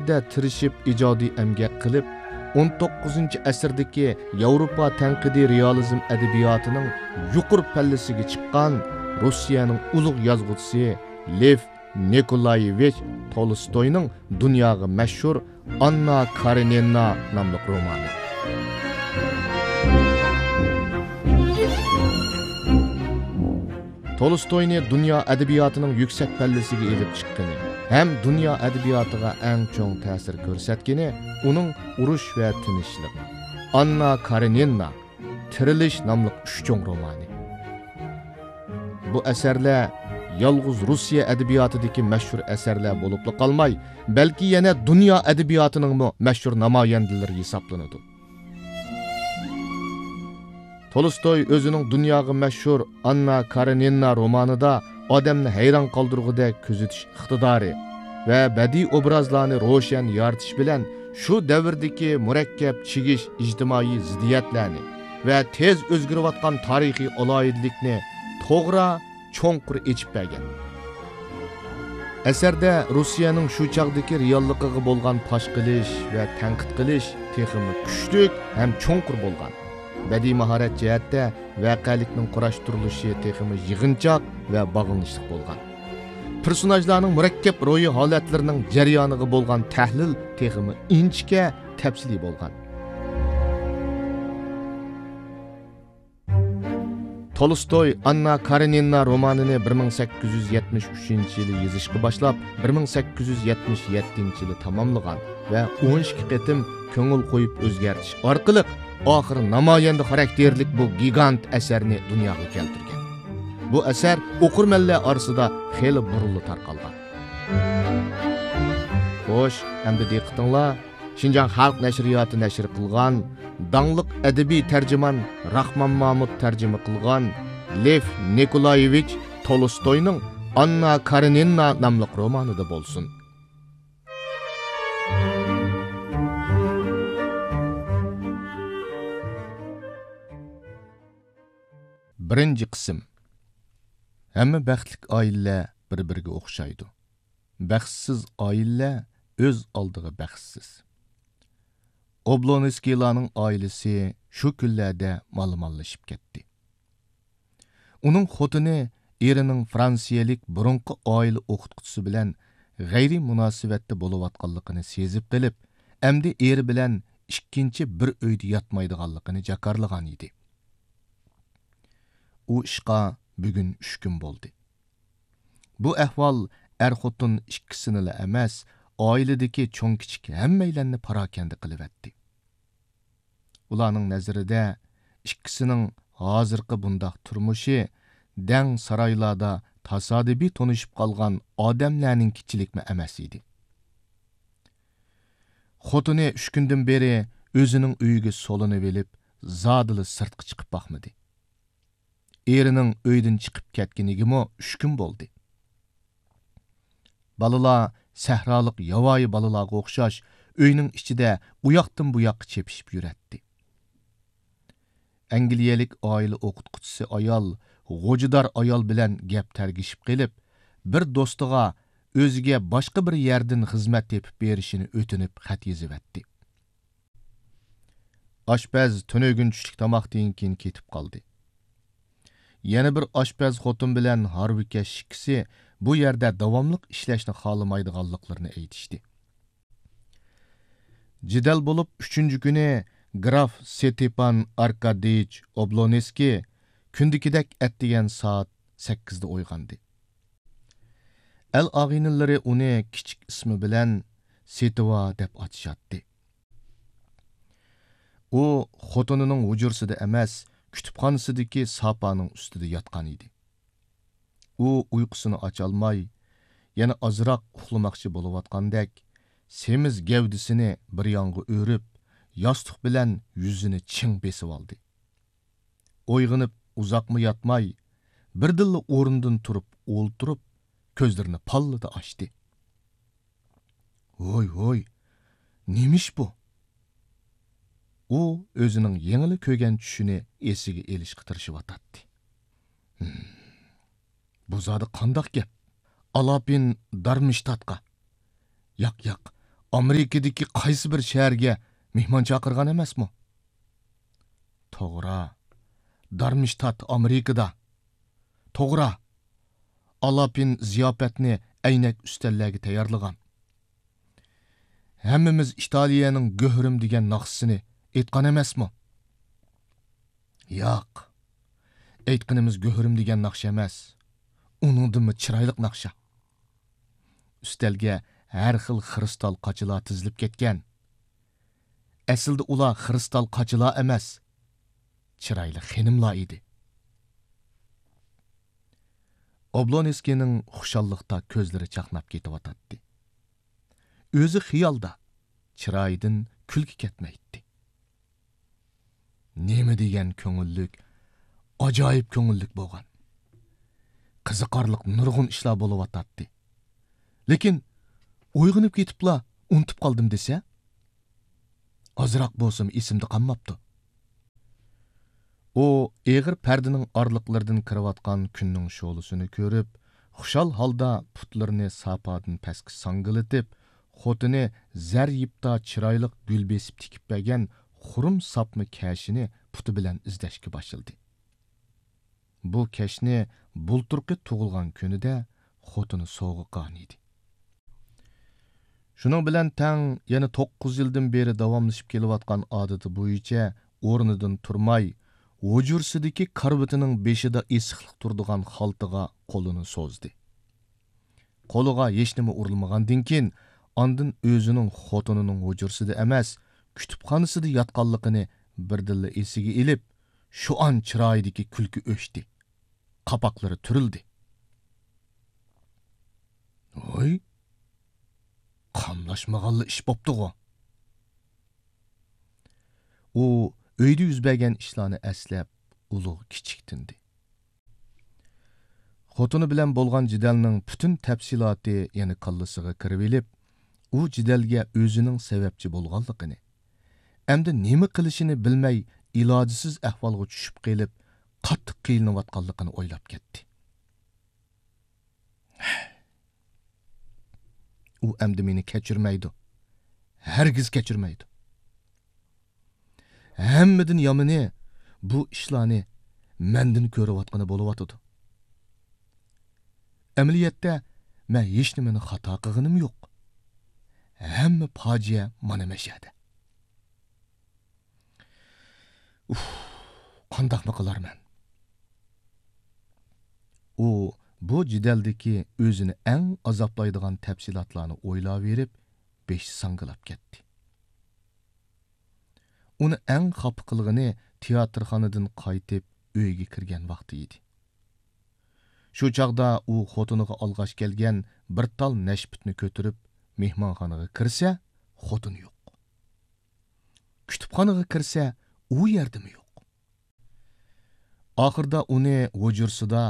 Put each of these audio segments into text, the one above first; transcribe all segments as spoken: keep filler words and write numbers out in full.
ئەلۋەتتە، تىرىشىپ ئىجادىي ئەمگەك قىلىپ، ئون توققۇزىنچى ئەسىردىكى ياۋروپا تەنقىدىي رېئالىزم ئەدەبىياتىنىڭ يۇقىرى پەللىسىگە چىققان روسىيەنىڭ ئۇلۇغ يازغۇچىسى لېف نىكولايېۋىچ تولستوينىڭ دۇنياغا مەشھۇر ئاننا كارېنىنا ناملىق رومانى. تولستوينى دۇنيا ئەدەبىياتىنىڭ يۈكسەك پەللىسىگە ئېلىپ چىققىنى ھەم دۇنيا ئەدەبىياتىغا ئەڭ چوڭ تەسىر كۆرسەتكىنى ئۇنىڭ ئۇرۇش ۋە تىنچلىق، ئاننا كارېنىنا، تىرىلىش ناملىق ئۈچ چوڭ رومانى. بۇ ئەسەرلەر يالغۇز روسىيە ئەدەبىياتىدىكى مەشھۇر ئەسەرلەر بولۇپلا قالماي، بەلكى يەنە دۇنيا ئەدەبىياتىنىڭمۇ مەشھۇر نامايەندىلىرى ھېسابلىنىدۇ. تولستوي ئۆزىنىڭ دۇنياغا مەشھۇر ئاننا كارېنىنا رومانىدا ئادەمنى ھەيران قالدۇرغۇدەك كۆزىتىش ئىقتىدارى ۋە بەدىئىي ئوبرازلارنى روشەن يارىتىش بىلەن شۇ دەۋردىكى مۇرەككەپ چىگىش ئىجتىمائىي زىددىيەتلەرنى ۋە تېز ئۆزگىرىۋاتقان تارىخىي ئالاھىدىلىكنى توغرا، چوڭقۇر ئېچىپ بەرگەن. ئەسەردە روسىيەنىڭ شۇ چاغدىكى رېئاللىقىغا بولغان پاش قىلىش ۋە تەنقىد قىلىش تېخىمۇ كۈچلۈك ھەم چوڭقۇر بولغان. بەدىئىي ماھارەت جەھەتتە ۋەقەلىكنىڭ قۇراشتۇرۇلۇشى تېخىمۇ يىغىنچاق ۋە باغلىنىشلىق بولغان. پېرسوناژلارنىڭ مۇرەككەپ روھىي ھالەتلىرىنىڭ جەريانىغا بولغان تەھلىل تېخىمۇ ئىنچىكە، تەپسىلىي بولغان. تولستوي ئاننا كارېنىنا رومانىنى بىر مىڭ سەككىز يۈز يەتمىش ئۈچىنچى يىلى يېزىشقا باشلاپ، بىر مىڭ سەككىز يۈز يەتمىش يەتتىنچى يىلى تاماملىغان ۋە ئون ئىككى قېتىم كۆڭۈل قويۇپ ئۆزگەرتىش ئارقىلىق، ئاخىرى نامايەندە خاراكتېرلىك بۇ گىگانت ئەسەرنى دۇنياغا كەلتۈرگەن. بۇ ئەسەر ئوقۇرمەنلەر ئارىسىدا خېلى بۇرۇنلا تارقالغان. خوش، ئەمدى دىققىتىڭلار شىنجاڭ خەلق نەشرىياتى نەشر قىلغان، داڭلىق ئەدەبىي تەرجىمان راخمان مامۇت تەرجىمە قىلغان لېف نىكولايېۋىچ تولستوينىڭ ئاننا كارېنىنا ناملىق رومانىدا بولسۇن. بىرىنچى قىسىم. ھەممە بەختلىك ئائىلىلەر بىر-بىرىگە ئوخشايدۇ. بەختسىز ئائىلىلەر ئۆز ئالدىغا بەختسىز. ئوبلونسكىيلارنىڭ ئائىلىسى شۇ كۈنلەردە مالىمانلىشىپ كەتتى. ئۇنىڭ خوتۇنى ئېرىنىڭ فرانسىيەلىك بۇرۇنقى ئائىلە ئوقۇتقۇچىسى بىلەن غەيرىي مۇناسىۋەتتە بولۇۋاتقانلىقىنى سېزىپ قېلىپ، ئەمدى ئېرى بىلەن ئىككىنچى بىر ئۆيدە ياتمايدىغانلىقىنى جاكارلىغان ئىدى. ئۇ ئىشقا بۈگۈن ئۈچ كۈن بولدى. بۇ ئەھۋال ئەر-خوتۇن ئىككىسىنىلا ئەمەس، ئائىلىدىكى چوڭ-كىچىك ھەممەيلەننى پاراكەندە قىلىۋەتتى. ئۇلارنىڭ نەزىرىدە ئىككىسىنىڭ ھازىرقى بۇنداق تۇرمۇشى دەڭ سارايلاردا تاسادىپىي تونۇشۇپ قالغان ئادەملەرنىڭكىچىلىكمۇ ئەمەس ئىدى. خوتۇنى ئۈچ كۈندىن بېرى ئۆزىنىڭ ئۆيىگە سولىنىۋېلىپ، زادىلا سىرتقا چىقىپ باقمىدى. ئېرىنىڭ ئۆيدىن چىقىپ كەتكىنىگىمۇ ئۈچ كۈن بولدى. بالىلار سەھرالىق ياۋايى بالىلارغا ئوخشاش ئۆينىڭ ئىچىدە ئۇياقتىن بۇياققا چېپىشىپ يۈرەتتى. ئەنگلىيەلىك ئائىلە ئوقۇتقۇچىسى ئايال غوجىدار ئايال بىلەن گەپ تەرگىشىپ قېلىپ، بىر دوستىغا ئۆزىگە باشقا بىر يەردىن خىزمەت تېپىپ بېرىشىنى ئۆتۈنۈپ خەت يېزىۋەتتى. ئاشپەز تۈنۈگۈن چۈشلۈك تاماقتىن كېيىن كېتىپ قالدى. يەنە بىر ئاشپەز خوتۇن بىلەن ھارۋىكەش ئىككىسى بۇ يەردە داۋاملىق ئىشلەشنى خالىمايدىغانلىقلىرىنى ئېيتىشتى. جېدەل بولۇپ، ئۈچىنچى كۈنى گراف ستېپان ئاركادىيچ ئوبلونسكىي كۈندىكىدەك ئەتىگەن سائەت سەككىزدە ئويغاندى. ئەل-ئاغىنىلىرى ئۇنى كىچىك ئىسمى بىلەن سېتىۋا دەپ ئاتىشاتتى. ئۇ خوتۇنىنىڭ ھۇجرىسىدا ئەمەس، كۇتۇپخانىسىدىكى ساپانىڭ ئۈستىدە ياتقان ئىدى. ئۇ ئۇيقۇسىنى ئاچالماي، يەنە ئازراق ئۇخلىماقچى بولۇۋاتقاندەك، سېمىز گەۋدىسىنى بىر يانغا ئۆرۈپ، ياستۇق بىلەن يۈزىنى چىڭ بېسىۋالدى. ئويغىنىپ ئۇزاقمۇ ياتماي، بىردىنلا ئورنىدىن تۇرۇپ ئولتۇرۇپ، كۆزلىرىنى پاللىدا ئاچتى. ھوي، ھوي، نېمە ئىش بۇ؟ ئۇ ئۆزىنىڭ يېڭىلا كۆرگەن چۈشىنى ئېسىگە ئېلىشقا تىرىشىۋاتاتتى. ھىم، بۇ زادى قانداق گەپ؟ ئالاپىن دارمشتاتقا. ياق، ياق، ئامېرىكىدىكى قايسى بىر شەھەرگە مېھمان چاقىرغان ئەمەسمۇ؟ توغرا، دارمشتات ئامېرىكىدا. توغرا، ئالاپىن زىياپەتنى ئەينەك ئۈستەللەرگە تەييارلىغان. ھەممىمىز ئىتالىيەنىڭ گۆھىرىم دېگەن ناخشىسىنى ئېيتقان ئەمەسمۇ؟ ياق، ئېيتقىنىمىز گۆھىرىم دېگەن ناخشا ئەمەس، ئۇنىڭدىنمۇ چىرايلىق ناخشا. ئۈستەلگە ھەر خىل خىرىستال قاچىلار تىزىلىپ كەتكەن. ئەسلىدە ئۇلار خىرىستال قاچىلار ئەمەس، چىرايلىق خېنىملار ئىدى. ئوبلونسكىينىڭ خۇشاللىقتا كۆزلىرى چاقناپ كېتىۋاتاتتى. ئۆزى خىيالدا، چىرايىدىن كۈلكە كەتمەيتتى. نېمە دېگەن كۆڭۈللۈك، ئاجايىپ كۆڭۈللۈك بولغان. قىزىقارلىق نۇرغۇن ئىشلار بولۇۋاتاتتى. لېكىن ئويغىنىپ كېتىپلا ئۇنتۇپ قالدىم دېسە، ئازراق بولسىمۇ ئېسىمدە قالماپتۇ. ئۇ ئېغىر پەردىنىڭ ئارىلىقلىرىدىن كىرىۋاتقان كۈننىڭ شولىسىنى كۆرۈپ، خۇشال ھالدا پۇتلىرىنى ساپادىن پەسكە ساڭگىلىتىپ، خوتۇنى زەر يىپتا چىرايلىق گۈل بېسىپ تىكىپ بەرگەن خۇرۇم ساپما كەشىنى پۇتى بىلەن ئىزدەشكە باشلىدى. بۇ كەشنى بۇلتۇرقى تۇغۇلغان كۈنىدە خوتۇنى سوۋغا قىلغان ئىدى. شۇنىڭ بىلەن تەڭ يەنە توققۇز يىلدىن بېرى داۋاملىشىپ كېلىۋاتقان ئادىتى بويىچە ئورنىدىن تۇرماي، ھۇجرىسىدىكى كارىۋىتىنىڭ بېشىدا ئېسىقلىق تۇرىدىغان خالتىغا قولىنى سوزدى. قولىغا ھېچنېمە ئۇرۇلمىغاندىن كېيىن، ئاندىن ئۆزىنىڭ خوتۇنىنىڭ ھۇجرىسىدا ئەمەس، كۇتۇپخانىسىدا ياتقانلىقىنى بىردىنلا ئېسىگە ئېلىپ، شۇئان چىرايىدىكى كۈلكە ئۆچتى. قاپاقلىرى تۈرۈلدى. ھوي، قاملاشمىغانلا ئىش بوپتىغۇ. ئۇ ئۆيدە يۈز بەرگەن ئىشلارنى ئەسلەپ، ئۇلۇغ كىچىك تىندى. خوتۇنى بىلەن بولغان جېدەلنىڭ پۈتۈن تەپسىلاتى يەنە كاللىسىغا كىرىۋېلىپ، ئۇ جېدەلگە ئۆزىنىڭ سەۋەبچى بولغانلىقىنى، ئەمدى نېمە قىلىشىنى بىلمەي، ئىلاجسىز ئەھۋالغا چۈشۈپ قېلىپ، قاتتىق قىينىلىۋاتقانلىقىنى ئويلاپ كەتتى. ئۇ ئەمدى مېنى كەچۈرمەيدۇ. ھەرگىز كەچۈرمەيدۇ. ھەممىدىن يامىنى، بۇ ئىشلارنى مەندىن كۆرۈۋاتقىنى بولۇۋاتىدۇ. ئەمەلىيەتتە، مەن ھېچنېمىنى خاتا قىلغىنىم يوق. ھەممە پاجىئە مانا مەشەدە. ئۇھ، قانداقمۇ قىلارمەن؟ ئۇ بۇ جېدەلدىكى ئۆزىنى ئەڭ ئازابلايدىغان تەپسىلاتلارنى ئويلاۋېرىپ، بېشى ساڭگىلاپ كەتتى. ئۇنى ئەڭ خاپا قىلغىنى تىياتىرخانىدىن قايتىپ ئۆيىگە كىرگەن ۋاقتى ئىدى. شۇ چاغدا ئۇ خوتۇنىغا ئالغاچ كەلگەن بىر تال نەشپۈتنى كۆتۈرۈپ مېھمانخانىغا كىرسە، خوتۇنى يوق. كۇتۇپخانىغا كىرسە، ئۇ يەردىمۇ يوق. ئاخىرىدا ئۇنى ھۇجرىسىدا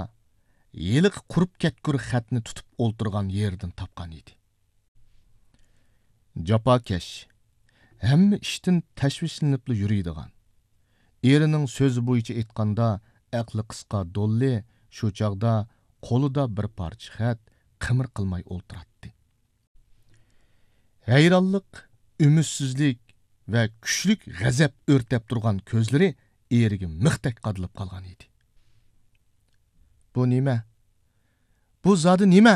ھېلىقى قۇرۇپ كەتكۈر خەتنى تۇتۇپ ئولتۇرغان يېرىدىن تاپقان ئىدى. جاپاكەش، ھەممە ئىشتىن تەشۋىشلىنىپلا يۈرىدىغان، ئېرىنىڭ سۆزى بويىچە ئېيتقاندا، ئەقلى قىسقا دوللى شۇ چاغدا قولىدا بىر پارچە خەت، قىمىر قىلماي ئولتۇراتتى. ھەيرانلىق، ئۈمىدسىزلىك ۋە كۈچلۈك غەزەپ ئۆرتەپ تۇرغان كۆزلىرى ئېرىگە مىختەك قادىلىپ قالغان ئىدى. بۇ نېمە؟ بۇ زادى نېمە؟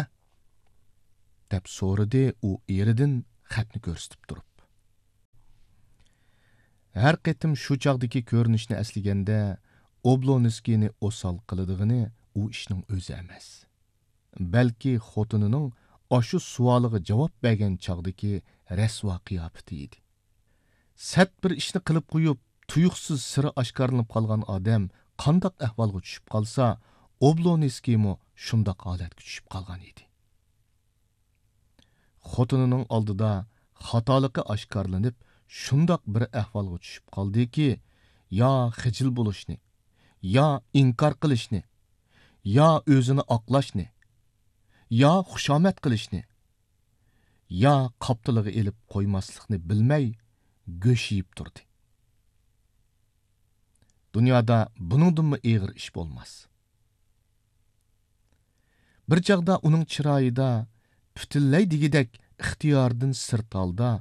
دەپ سورىدى ئۇ ئېرىدىن خەتنى كۆرسىتىپ تۇرۇپ. ھەر قېتىم شۇ چاغدىكى كۆرۈنۈشنى ئەسلىگەندە، ئوبلونسكىينى ئوسال قىلىدىغىنى ئۇ ئىشنىڭ ئۆزى ئەمەس. بەلكى خوتۇنىنىڭ ئاشۇ سوئالىغا جاۋاب بەرگەن چاغدىكى رەسۋا قىياپىتى ئىدى. سەت بىر ئىشنى قىلىپ قويۇپ، تۇيۇقسىز سىرى ئاشكارىلىنىپ قالغان ئادەم قانداق ئەھۋالغا چۈشۈپ قالسا، ئوبلونسكىيمۇ شۇنداق ھالەتكە چۈشۈپ قالغان ئىدى. خوتۇنىنىڭ ئالدىدا خاتالىقى ئاشكارىلىنىپ، شۇنداق بىر ئەھۋالغا چۈشۈپ قالدىكى، يا خىجىل بولۇشنى، يا ئىنكار قىلىشنى، يا ئۆزىنى ئاقلاشنى، يا خۇشامەت قىلىشنى، يا قاپتىلىغا ئېلىپ قويماسلىقنى بىلمەي گۆش يېيىپ تۇردى. دۇنيادا بۇنىڭدىنمۇ ئېغىر ئىش بولماس. بىر چاغدا ئۇنىڭ چىرايىدا پۈتۈنلەي دېگۈدەك ئىختىيارىدىن سىرت ھالدا